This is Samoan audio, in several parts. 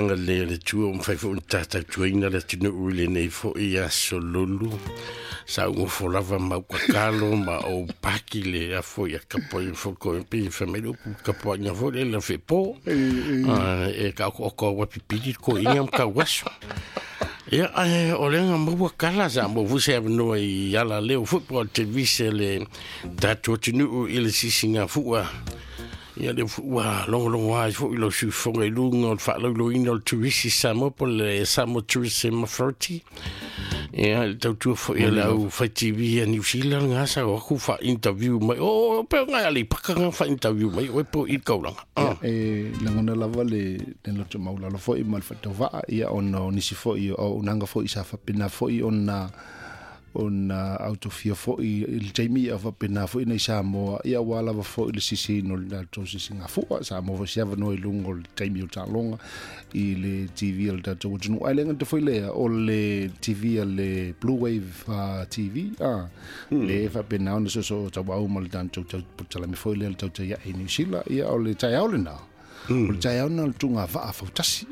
Agalelei o le Atua ua mafai foi ona ta tautuaina le atunuu i lenei foi aso lulu. Sa ou nofo lava ma ou tatalo ma ou paki le afo ia tapuaiga foi ko pe fai mai le upu tapuaiga foi le la fepo. E ka o ko wa pipili ko inga ma kau aso. Ia, ae o le nga maua kala sa mo fu se avanoa i ala leo foi po o le televise le tatou atunuu i le sisiga fua. Ia lea foi ua logologo ai foi lou siufofoga i luga o le faalauiloina o le Turisi Samoa po o le Samoa Tourism Authority. Ia, i le tautua foi a le au fai TV a New Zealand nga sa o aku faa-interview mai. O, o pe o ngai Aleipaka nga faa-interview mai oe po i le kaulaga. Ia, e lagona lava le loto maulalo foi ma le faatauvaa, ia ona o nisi foi o auaunaga foi sa faapena foi ona ona autofia foi i le taimi ia faapena foi nei Samoa, ia aua lava foi le sisiina o le tatou sisigafua. Sa maua foi se avanoa i luga o le taimi o taaloga i le TV a le tatou atunuu. Ae le gata foi lea, o le TV a le Blue Wave TV, le faapena ona soosoo tauau ma le tatou talami foi lea le tautai ae i Niu Sila. Ia o le taeao lena, o le taeao lena o le tuga vaa fautasi,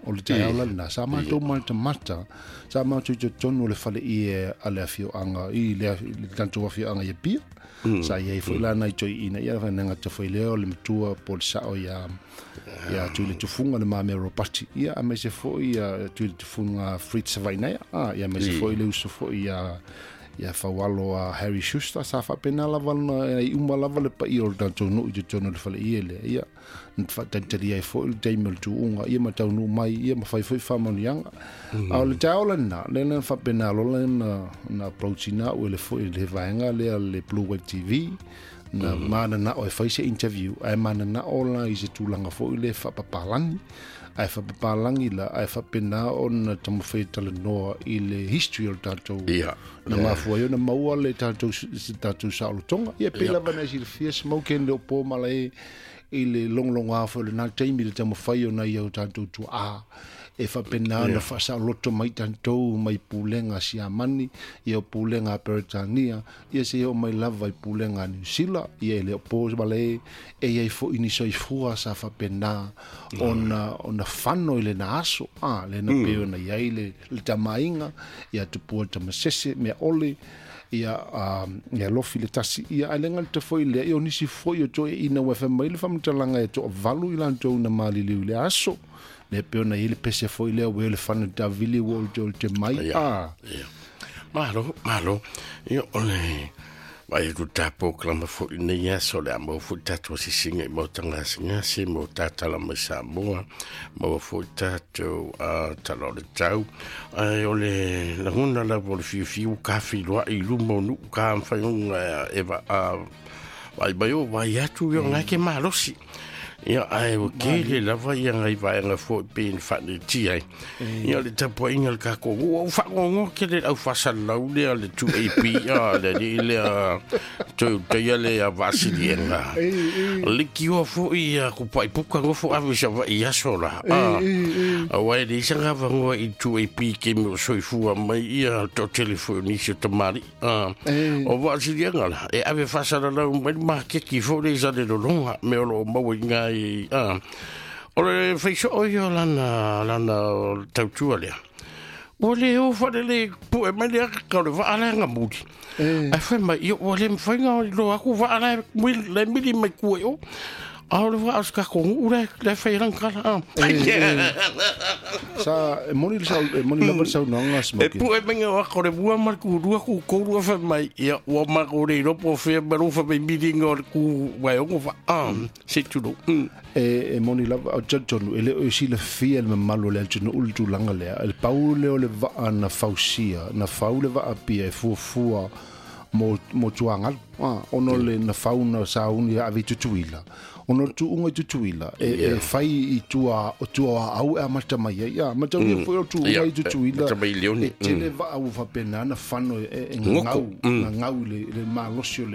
o le taeao la lena, sa matou matamata, sa matou i totonu o le fale ie a le afioaga i le tatou afioaga i Apia. Sa i ai foi la nai toeaiina, ia le gata foi lea o le matua po o le sao ia ia Tui le Tufunga le Mamea Robati, ia aemaise foi ia Tui le Tufunga Fritz Savainaea, ia aemaise foi le uso foi ia ia Faualo a Harry Schuster. Sa faapena lava ona i uma lava le paia o le tatou nuu i totonu o le fale ie lea, ia na faatalitali ai foi le taimi o le tuuga, ia ma taunuu mai, ia ma fai foi faamanuiaga. A o le taeao lena, lea na faapena loa na approach ina au e le foi le vaega lea le Blue Wave TV, na mananao e fai se interview, ae mananao la i se tulaga foi le faapapalagi, ae faapapalagi la, ae faapena ona taumafai e talanoa i le history o le tatou na mafua ai ona maua le tatou se tatou saolotoga. Ia pei lava na e silafia Smoke le o po malae i le logologoa foi o lena taimi le taumafai o nai au tatou tuaa e faapena ona faasaoloto mai tatou mai pulega Siamani, ia o pulega a Peretania, ia seia oo mai lava i pulega a Niu Sila. Ia e le o po wale e iai foi ni soifua sa faapena ona ona fano i lena aso, lena pei ona iai le tamaaiga, ia tupua tamasese mea ole, ia ia lofi le tasi, ia ae le gata foi lea, ia o nisi foi o toeaiina ua fai mai le faamatalaga e toavalu i latou na maliliu i le aso, le pei ona iai le pese foi lea ua le fana tavili ua o te mai. Malo, malo. Ia o le vai atu tapo kalama foi nei aso le a maua foi tatou asiasiga i maota gasegase mo tatala mai Samoa, maua foi tatou tala o le tau. Ae o le lagona lava o le fiafia ua tafeiloai i luma o nuu ka mafai ona e vaai mai o vai atu ia ona ke malosi. Ia, ae ua tele lava ia ngai vaega foi pe na faanetia ai. Ia, le tapuaiga a le tatou nuu, ua ou faanoanoa tele i le au faasalalau lea le 2AP, le alii lea toe utaia le Vaasiliega. Leitioa foi ia Kupaipuka nofo ave i Savaii i aso la. Aua e leai se avanoa i le 2AP i taimi o soifua mai ia le toatele foi o nisi o tamalii. O Vaasiliega la, e ave faasalalau mai le maketi foi lea i Salelologa, mea o lo o maua i ina i, o le faisoo ia o lana, lana tautua lea. Ua le o faalelei pue mai le ata o le vaa la e gamuli. Ae fai mai, ia ua le mafai ona iloa atu vaa la e mili mai tua i o. A o le vaa o se tatou nuu la e fai ai lana tala. Sa e moni le sau, e moni lava le saunoaga a Smoky. E pue mai ngā waka o le mua ma le kū rua, kū tolu a fai mai, ia ua mātou le iloa po o fea ma lou fai mai mili ngā o le kū waeogo vaa. Se tūrou. E moni lava, o talitonu, e le o e silafia le mamalu o le atunuu le tulaga lea. Le pau lea o le vaa na fausia, na fau le vaa pia e fuafua mo tuagalu. Ona o le na fau na sauni e ave i Tutuila. Ona o le tuuga i Tutuila, e fai i tua, o tua o Aau e amata mai ai. Mataulia foi o tuuga i Tutuila, e tele vaa ua faapena na fano e gagau, gagau i le malosi o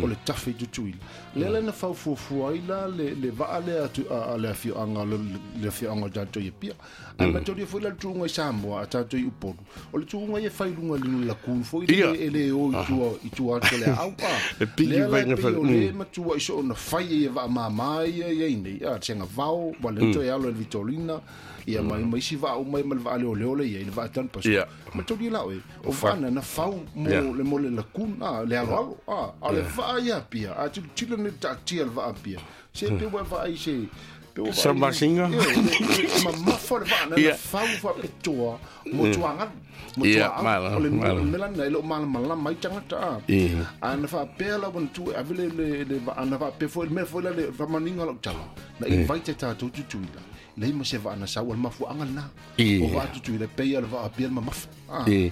le tafe i Tutuila. Lea la na fau fuafua ai la le vaa lea a le afioaga, le afioaga o tatou i Apia. Ae mataulia foi la le tuuga i Samoa a tatou i Upolu. O le tuuga ia e fai i luga i le lagoon foi lele e le o i tua O i tua atu le au a. E piki Lea la vainga e pei fale- o le matua i so ona fai e vaa mama ia ia i nei. A, senga vao, wa le toe alo e le Vitorina, ia mai mai si vaa umai ma le vaa leo leo le ia i le vaa tanu paso. Ia. Ma tau lau e, o vaa na fau mo le mo le lakun, a, le alo alo, a, a le vaa ia pia, a tilo tilo ne taatia le vaa pia. Se pe ua vaa i se, pe ua vaa i- Samasinga. Ia, ma mafa le vaa na Ia. fau faapitoa mo tuagalu. Mo Ia, tuaau. malo, O le malo. mea lena e le o malamalama ai tagata a. Ia. A na faapea la ua tu e ave le le le vaa na faapea foi le mea foi la le faamanuiga o lau tala. Na invite e tatou Tutuila. Leai ma se vaa na sau o le mafuaaga lena. Ia. O vaa Tutuila pei o le vaa Apia le mamafa. A. Ia.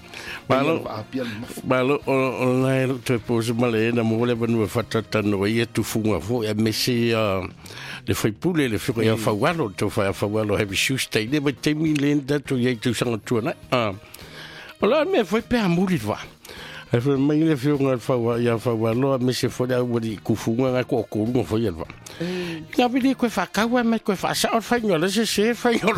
Pei o Malo. le vaa Apia le mamafa. Malo o o nai lo toe poso male e na mo le vanua whatatano ia tufunga fo e mese le whaipule le whiko ia whawalo to whai a whawalo heavy shoes te le vai te mi le tato ia i tūsanga tuanai. O la mea foi pea muri wa. E whai mai le whio ngā whawa ia whawalo a mese fo le awari kufunga ngā ko o korunga fo ia wa. Ngā vile koe whakaua mai koe whasa o whainga le se se whainga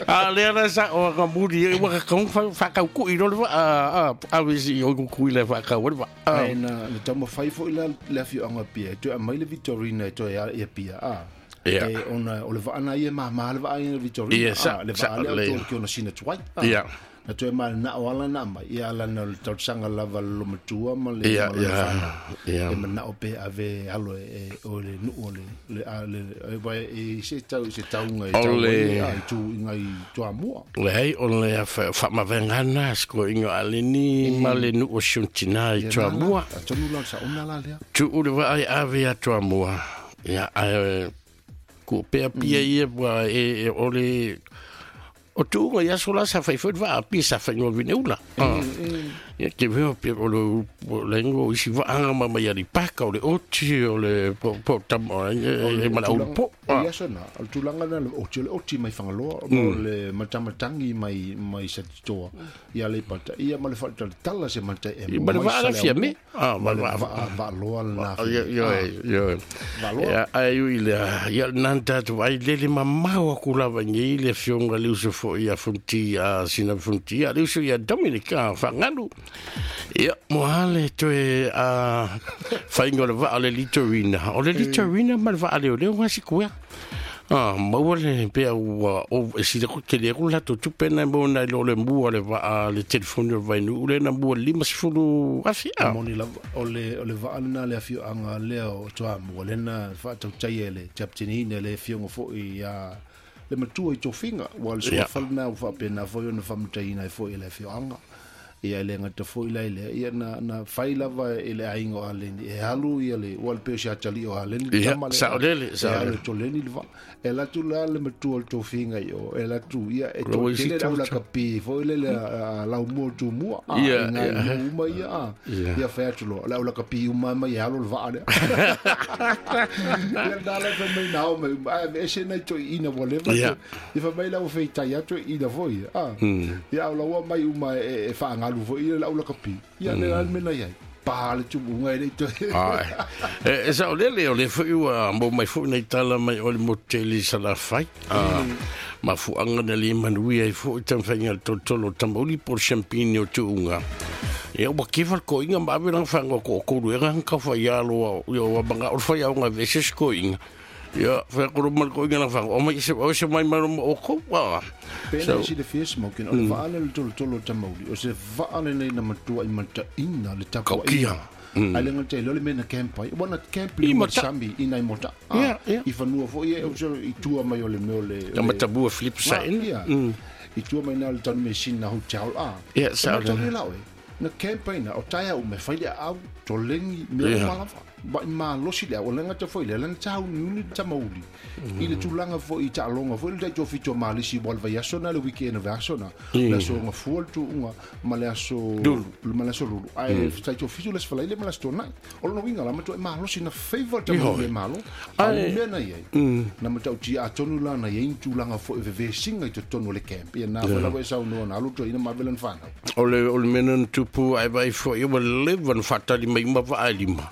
A lea na sa o ka muri e waka kaung whakau ku i rolo a a wisi o ku i le whakau wa. Ai na na taumafai foi la le afioaga Apia e toe aumai le Vitorina e toe ia Apia a. Ia. E ona o le vaa na ia māmā le vaa ia le Vitorina Ia, sa- a, le sa- vaa lea o le- tolu ki ona sina tuai a. Ia. Na toe manao ala na mai ia ala na o le tausaga lava le lomatua ma le Ia, ma le ia, fanau. ia. E manao pe ave alo e o le nuu o le le a le e vai e se tau se tauga e O tau le- ai, a i tu i ngai Toamua. Le hei o le a whaamavenga sko ingo aleni ma le nu o shuntina i Ia, tua na la, mua. a tonu la sa ona la lea. Tu ure wa ai ave a tua mua. Ia ai ku pea pia ia wa e o le o tuunga ia sola sa fai foi va a pia sa fai ngo vine ula. Ia ke veo pia o le o le ngo isi wa anga ma mai ali paka o le oti o le po po tam o e e mala ulu po. O ia sona, o le tulaga lena le oti o le oti mai Fagaloa, mo le matamatangi mai mai Satitoa, ia Aleipata, ia ma le faatalatala se matai e I ma le mai vaa la fia Saleaumua, me. Ah, ma ma le le vaa vaa vaaloa lena Ia, fia. ia, ia. Valoa. Ia, ai ui le, ia nanta tu ai lele mamau aku lava ngi le fionga le uso fo ia funti a sina funti a le uso ia Dominica whangalu. Ia, mo hale toe a whainga o le vaa o le Litorina. O le Litorina ma le vaa leo leo ngasi kuea. Ah, maua le pea ua o e sila ko te le ko la tu pena mo na lo le mua le vaa le telefoni o vainu le na mua 50 afi. Ah. Moni lava, o le o le vaa lena le afioaga lea o Toamua, lena faatautai e le captainina le afioga foi ia le matua i tofiga, ua le Ia. suafa lena ua faapena foi ona faamataiina ai foi e le afioaga. Ia e le gata foi la i lea, ia na na fai lava e le aiga o Aleni, e alu ia le ua le pei o se atalii o Aleni le Ia, tama lea. saolele, E alu saolele. e toleni le vaa. E alu atu la le matua o le tofiga i o, e alu atu ia e Lo isi toatele le tau- aulakapi foi le le a laumua o Tumua, a, Ia, i ngai ia. nuu uma ia, a. Ia. Ia fai atu loa, le aulakapi uma mai e alo le vaa lea. Ia na la fai mai na ao mai uma, ai, ese nai toeaina ua leva Ia. Ia fai mai la ua feitai atu toeaina foi, a. Ia au laua mai uma e faagalu foi ia le aulakapi. Ia le la le mea na i ai. Pa le tubuga e le i toe. Ai. E sa o lele o le foi ua mo mai foi nei tala mai o le moteli sa la fai. Ah, ma fuanga na le manui ai foi tam whainga le tolotolo tamauli po le champagne o tuunga. Ia ua kefa le koinga ma ave langa whanga ko o koru e nganga ka whai alo ia ua manga o le whai au ngā veses koinga. Ia whai koro ma le koinga langa whanga o mai se o se mai maro ma o kou. Ah. Pena So, si le fia smoking, o le vaa le tolotolo o tamauli, o se vaa lenei na matua i mataina le Kaukia. tapuaiga. Ai le gata i lea o le mea na camp ai. Ua na camp i I luga o le mata- sami i nai mota. Ah, Ia, ia. I fanua foi e o se i tua mai o le mea o le... Na matabua Philip Sain. Ia. I tua mai na o le tanu mesina hotel. Ah. Ia, sa E o le- matau lau e. Na camp ai na, o taea ume, fai le au, toleni, mea Ia. uma lava. Wa i malosi le au, o le gata foi lea, lana tāuniuni le tamauli. I le tulaga foi i taaloga foi le taitofitu o malisi ua le vaiaso na le weekend o vaiaso na. Le aso gafua le tuuga ma le aso Lulu. ma le aso lulu. Ae taitofitu le aso falaile ma le aso tuanai. O lona uiga la matua e malosi na favour le tamauli e malo. A o le mea na i ai. Na matautia atonu la na i ai ni tulaga foi e vevesiga i totonu o le camp. Ia na foi lava e saunoa na alu toeaina ma ave lana fanau. O le o le mea na tupu tupu ai vai foi ua leva na faatali mai uma vaa e lima.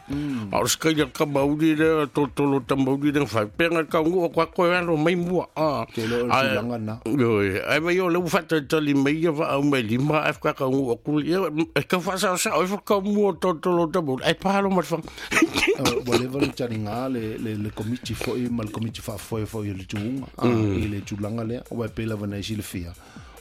A o le sikaila tamauli lea tolotolo tamauli lea na fai pea taunuu atu lava toe alo mai mua a. Te iloa o le tulaga lena. Ioe, ae vai o lea ua faatalitali mai ia vaa uma e lima ae faatoa taunuu atu ia e tau faasaosao ai foi le taumua o le tolotolo tamauli ae pa loa ma le faga. Ua leva ona taliga le, le, le komiti foi ma le komiti faafoe foi o le tuuga a, i le tulaga lea, aua e pei lava ona e silafia,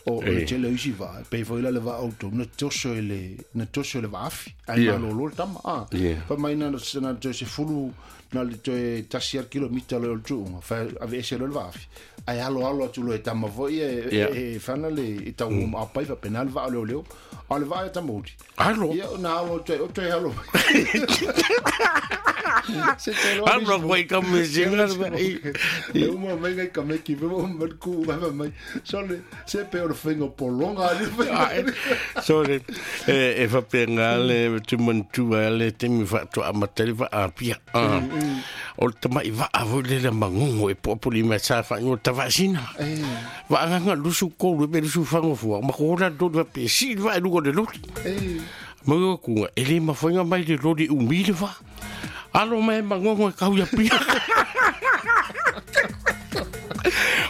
o, o le tele o isi vaa, e pei foi la le vaa o outou, na toso e le, na toso e le vaafi, ae malolo le tama, a. Fai mai na, na toe 10, na le toe 1 lava le kilomita loa o le tuuga, fai aveese loa le vaafi, ae aloalo atu loa e tama foi e, e fana le, e tau apai faapena le vaa o leoleo. A o le vaa e tamauli. Alo. Ia, na alo atu ai, o toe alo mai. Se te loa Alo koe i ka mesinga. Le uma mai ngai kameki pe mo mai ku mai mai. Sole se pe o le whainga polonga ali. Sole e faapena le tumantua le taimi faatoa amata le vaa Apia. O le tamai vaa foi lele magogo e poapoli mai sa faaigoa Tavaasina. Vaagaga 23 pe 24 fua ma ko la tolu faapea sii le vaa i luga o le loli. Mau atu e le mafai ona mai le loli e umi le vaa. Alo mai e magogo e kau i Apia.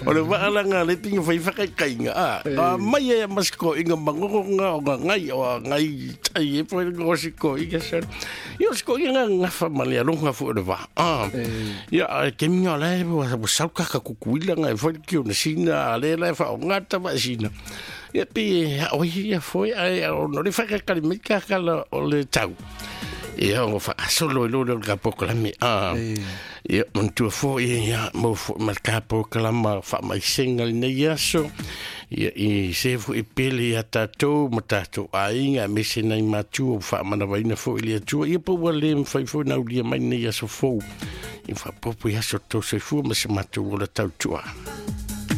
O le vaa la le tinga fai whakaikainga. A, a mai e masko inga magogo nga o nga ngai o a ngai tai e po ngo siko inga sa. Ia siko inga ngafa ma le alonga fu le vaa. A, ia a ke minga la e wa wa sau ka ka kukuila nga e foi ki o na sina a le la e wha o ngata wa sina. Ia pi o ia foi ai o no le whakakali mai ka kala o le tau. Ia o whaasolo i lolo ka pokalame. A, ia mantua foi ia mo foi ma ka pokalama wha mai senga le nei aso. Ia i se foi pele ia tātou ma tātou aiga me se nei matua o whaamanawaina foi le atua. Ia po ua le mwhai foi na ulia mai nei aso fou. I whapopo i aso tō soifua ma se matou ola tautua.